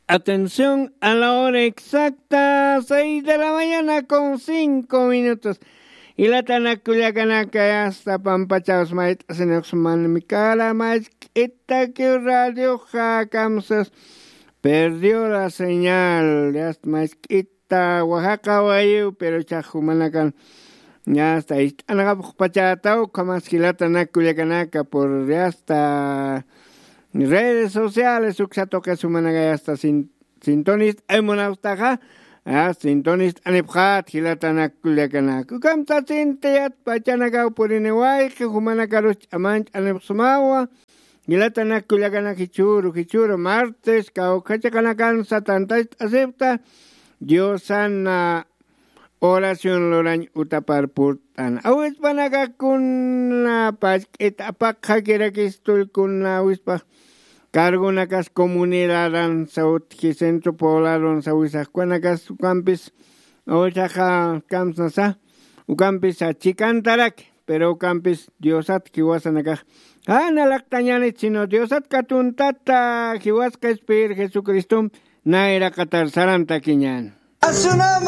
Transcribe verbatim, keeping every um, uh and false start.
Atención, a la hora exacta, seis de la mañana con cinco minutos. Jilatanak kullakanaka, yasta pampachaws mayt'asinux manmi kara, mask'itakiw radioxa kamsas, perdió la señal, yasta mask'ita Oaxaca wayiw, pero chax jumanakan yasta ist'anxapxpachätaw, ukhamas jilatanak kullakanaka por yasta redes sociales, uksa tuqis jumanaka yasta sin-, sintonist'ay munapxtaxa, ah, sintonist'anipxät jilatanak kullakanaka. Ukham sasinti yatpachanakaw purini wayqi jumanakarus ch'amanch'anipxsmawa, jilatanak kullakanak jichhüru, jichhüru martes, kawkha chiqanakansa tantacht'asipxta, Diosana oración lurañ utapar purt'an. Awispanakakuna pask'it apaqxakirakis tullkuna awispax cargonakas comunidadansa utji centro pobladonsa wisaxkunakas ukampis awisaxa kamsnasa ukampis chikantaraki, pero ukampis Diosat jiwasanakax jan alaqtañänit, sino Diosat katuntata jiwas qhispiyir Jesucristom nayraqatar sarantakiñän.